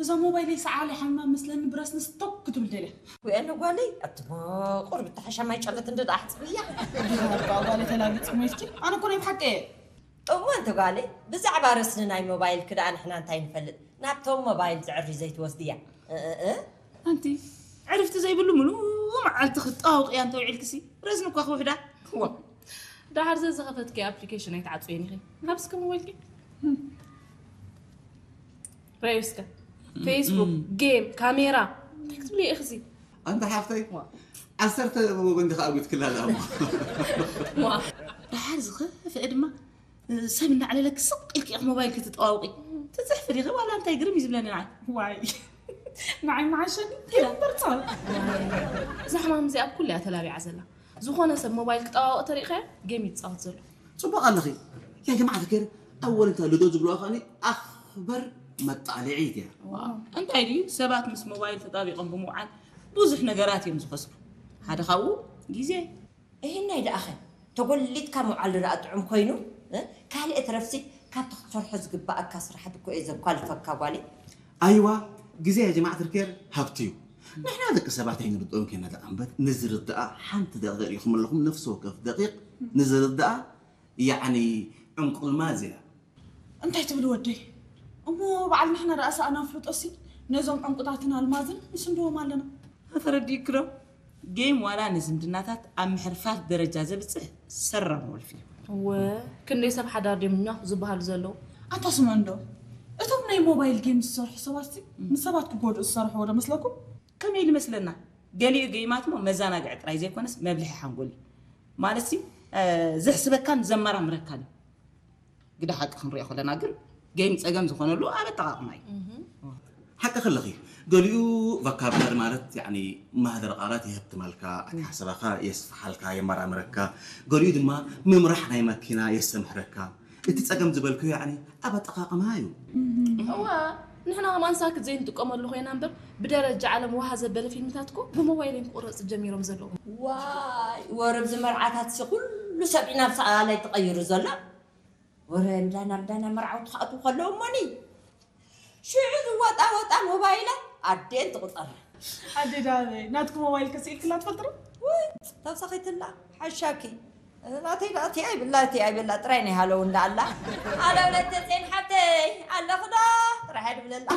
እዛ ሞባይለይ ሰዓል ሓማ መስለኒ ብረስንስ ቶክ ክትብል ደልያ። ወይኣነ ጓለይ ኣቲ ቁርብ ተሓሻማይ ጨለት እንደ ደኣ ሕፅብያ። ጓለ ተላግፅ ሞይስኪ ኣነ እኮ ናይ ብሓቂ እየ። እሞ እንተ ጓለይ ብዛዕባ ረስኒ ናይ ሞባይል ክደኣ ንሕና እንታይ ንፈልጥ? ናብቶም ሞባይል ዝዕሪ ዘይትወስድያ። እ፣ እ፣ እ። ኣንቲ ዕርፍቲ ዘይብሉ ምሉ መዓልቲ ክጣወቅ እያ እንተ ውዒልክሲ ረስኒ እኳ ክውሕዳ። ዋ ዳሓር ዘዝኸፈትኪ ኣፕሊኬሽን ኣይትዓፅየን ኢኺ። ሃብስከ ሞባይልኪ ረዩ እስከ ፌስቡክ፣ ጌም፣ ካሜራ እንታይ ክትብሊ ኢኺ? ኣንታ ሓፍተይ ዓሰርተ ብጎንዲ ከዓ ኣጉትክላ ደኣ እሞ ዋ ደሓር ዝኸፍአ ድማ ሰብ እናዕለለኪ ስቕ ኢልኪ ኢኺ ሞባይል ክትጠዋውቂ ትፅሕፊ ዲኺ ዋላ እንታይ ግርም እዩ ዝብለኒ ንዓይ። ዋይ ንዓይ መዓሸኒ ይምበርፃ። እዛ ሕማም እዚኣ ኣብ ኩሉ እያ ተላቢዓ ዘላ። ዝኾነ ሰብ ሞባይል ክጠዋወቕ ተሪእኻዮ ጌም ይፃወት ዘሎ። ፅቡቕ ኣለኺ ያ ጀማዓት ከይር ኣወል እንተ ልዶ ዝብልዋ ከኣኒ ኣኽበር መጣልዒት እያ። እንታይ ድዩ ሰባት ምስ ሞባይል ተጣቢቖም ብምውዓል ብዙሕ ነገራት እዮም ዝኸስሩ። ሓደ ካብኡ ግዜ። እህናይ ደኣኸ ተጎሊትካ ምውዓል ደኣ ጥዑም ኮይኑ እ? ካልእ ትረፍሲ ካብቲ ክትሰርሖ ዝግባኣካ ስራሓት እኮ እየ ዘኳልፈካ ጓለይ። ኣይዋ ግዜ ያ ጀማዓት ርከር ሃብቲ እዩ። ንሕና ደቂ ሰባት ኣይንርድኦን ከና ደኣ እምበር ንዝርድኣ ሓንቲ ደቂቕ ኢኹም ኣለኹም ነፍሲ ወከፍ ደቂቕ ንዝርድኣ ያዕኒ ዕንቁልማዝ እያ። እንታይ ትብል ወደይ? እሞ በዓል ንሕና ደኣ ሰኣና ፍልጦሲ ነዞም ዕንቁታትን ኣልማዝን ንስንድዎም ኣለና። ተረዲእክዶ? ጌም ዋላ ንዝምድናታት ኣብ ምሕርፋፍ ደረጃ ዘብፅሕ ሰራም ወልፊ እዩ። እወ ክንደይ ሰብ ሓዳር ድዮም ኛኹ ዝበሃሉ ዘለዉ። ኣታ ስምዑ እንዶ እቶም ናይ ሞባይል ጌም ዝሰርሑ ሰባት ንሰባት ክጎድኡ ዝሰርሕዎ ዶ መስለኩም? ከመይ ኢሉ መስለና? ገሊኡ ጌማት እሞ መዘናግዒ ጥራይ ዘይኮነስ መብልሒ ሓንጎል እዩ። ማለት ሲ ዘሕስበካን ዘመራምረካን እዩ። ግደ ሓቂ ክንሪኦ ከለና ግን ጌም ፀገም ዝኾነሉ ኣብ ኣጠቓቕማ እዩ። ሓቂ ከለኺ ገሊኡ ቫካብላሪ ማለት ያኒ ማህደር ቃላት የህብትመልካ፣ ኣተሓሳስባኻ የስፍሓልካ፣ የመራምረካ። ገሊኡ ድማ ምምራሕ ናይ መኪና የስተምህረካ። እቲ ፀገም ዝበልክዮ ያኒ ኣብ ኣጠቓቕማ እዩ። እዋ ንሕና ከም ኣንሳክት ዘይንጥቀመሉ ኮይና እምበር ብደረጃ ዓለም ዋሃ ዘበለ ፊልምታት እኮ ብሞባይል እዮም ክቁረፅ ጀሚሮም ዘለዉ። ዋይ ወረ ብዚ መርዓታት ሲ ኩሉ ሰብ ኢና ብሰኣላይ ትቐይሩ ዘሎ። ወረ እንዳና እንዳና መርዓውቲ ክኣትዉ ከለዉ እሞኒ ሽዑ ዝወጣ ወጣ ሞባይለ ኣዴን ትቑፀር። ኣዴ ዳበይ ናትኩ ሞባይል ከስኢልክላ ትፈልጥሩ? ውይ ተብሰኺትላ ሓሻኪ ናተይ ደኣ እቲ ኣይብላ እቲ ኣይብላ ጥራይ ናይ ሃለው እንዳ ኣላ ኣለ ብለተፀን ሓብተይ ኣለኽዶ ጥራይ ድብለላ